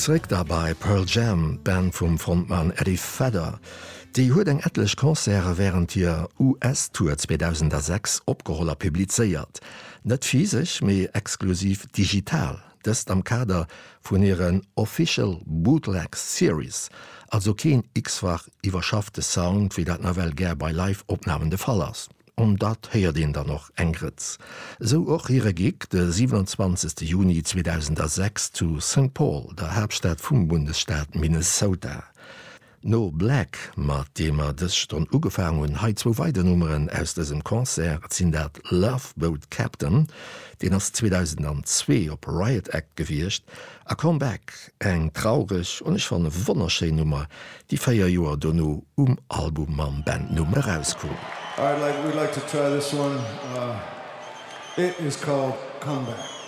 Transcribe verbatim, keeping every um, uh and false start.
Zréck da bei Pearl Jam, d'Band vum Frontmann Eddie Vedder. Déi huet eng etlech Concerte wärend hir U S-Tour zweedausendsechs opgeholl a publizéiert. Net physesch, mee exklusiv digital. Dëst am Kader vun hiren Official Bootleg Series, also keen x-fach iwwerschaffte Sound, wéi dat nawell gär bei Live-Opnamen de Fall ass. An dat héiert een dann och eng Grëtz. Sou och hire Gig de siwenanzwanzegste Juni zweedausendsechs zu Saint Paul, der Haaptstad vum Bundesstaat Minnesota. No Black, mat deem mer dës Stonn ugefaangen hunn, hei zwou weider Nummeren aus dësem Concert. Et sinn dat Love Boat Captain, deen ass zweedausendzwee op Riot Act gewiescht, a Come Back, eng traureg an ech fannen wonnerschéin Nummer, déi véier Joer dono um Album mam Bandnumm erauskoum. All right, like, we'd like to try this one. Uh, it is called Come Back.